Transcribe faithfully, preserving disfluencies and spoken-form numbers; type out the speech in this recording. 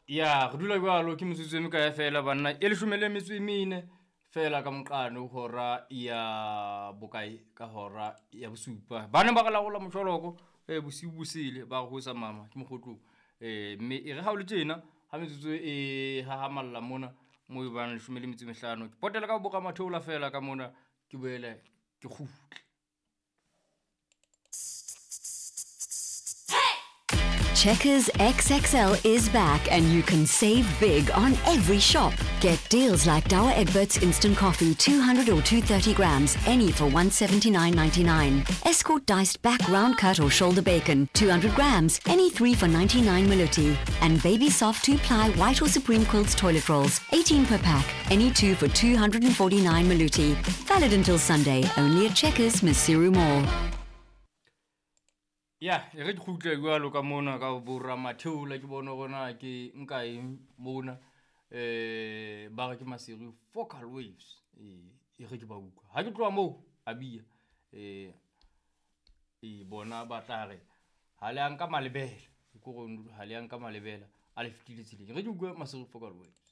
Ya re dula jwalo ke metsotso e mekae fela banna e leshome le metso e mene fela ka moqano hora ya bokae ka hora ya bosupa. Ba ne ba re laola mosholoko e bosiu bosele ba re ho sa mama ke mokgotlong. Mme e re ha o le tjena ha metsotso e hahamalla mona mo e bang leshome le metso e mehlano. Ke potela ka bo ramatheola fela ka mona, ke boele ke kgutle. Checkers X X L is back and you can save big on every shop. Get deals like Douwe Egberts Instant Coffee, two hundred or two thirty grams, any for one seventy-nine ninety-nine. Escort diced back round cut or shoulder bacon, two hundred grams, any three for ninety-nine Maluti. And Baby Soft two-ply white or Supreme Quilts toilet rolls, eighteen per pack, any two for two hundred and forty-nine Maluti. Valid until Sunday, only at Checkers, Maseru Mall. Ya, e re ke kgutle jwalo ka mona ka bo ramatheola ke bone hore na ke nka eng mona. Eh, ba re ke Maseru Focal Waves. Eh, e re ke ba utlwa. Ha ke tloha moo, a bia. Eh, e bona ba tla re ha le a nka malebela. Ke hore ha le a nka malebela, a le fetile tseleng. E re ke utlwe Maseru Focal Waves.